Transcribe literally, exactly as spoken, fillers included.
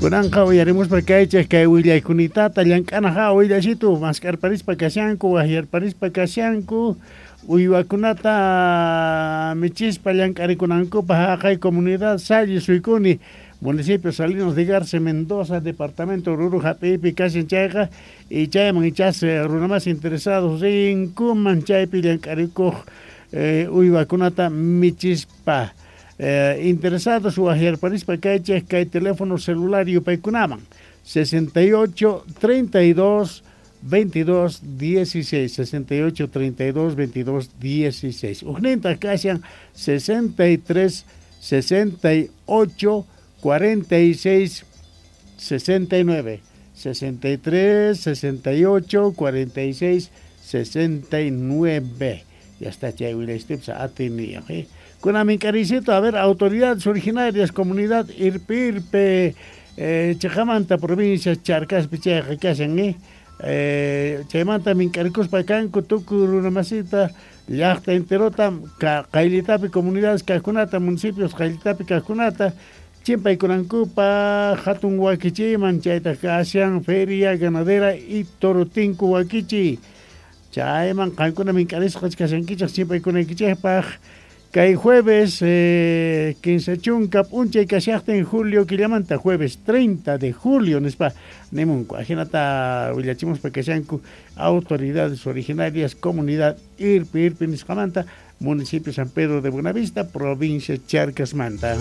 Kunanqa uyarimuspa kaychik kay willaykunitata llank'anaqa willashitu mask'arparispa kashanku wahyarparispa kashanku uywakunata michispa llank'arikunankupaq haqay comunidad Salle Suicuni, municipio Salinas de Garza, Mendoza, departamento Oruro hap'iypi kashan chayqa y chayman ichas runa más interesados rinkuman chaypi llank'arikuq eh, uywakunata michispa. Eh, interesados wahyarparispa kaychik kay teléfono celular yupaykunaman sesenta y ocho treinta y dos veintidós dieciséis, sesenta y ocho treinta y dos veintidós dieciséis. Ujninta kashan sesenta y tres sesenta y ocho cuarenta y seis sesenta y nueve, sesenta y tres sesenta y ocho cuarenta y seis sesenta y nueve. Ya está chay willaystipsa atiniyoq, eh? Kuna minkarisito, a ver, autoridades originarias, comunidad Irpirpe, eh, Chajamanta, provincia Charcaspi chayqa kashan, eh? Eh, chaymanta mink'arikuspa kanku tukuy runa masita llaqta enterota ka, qayllitapi comunidades kaqkunata, municipios qayllitapi kaqkunata chimpaykunankupaq hatun wakichiyman, chaytaq kashan feria ganadera y torotinku wakichiy. Chayman qankuna mink'arisqa kashankichik chimpaykunaykichikpaq kay jueves eh, kinsa chunka p'unchay kashaqtin julio killamanta, jueves treinta de julio nispa nimunku. Ajinata willachimuspa kashanku autoridades originarias comunidad Irpi Irpi nisqamanta, municipio San Pedro de Buenavista, provincia Charcasmanta.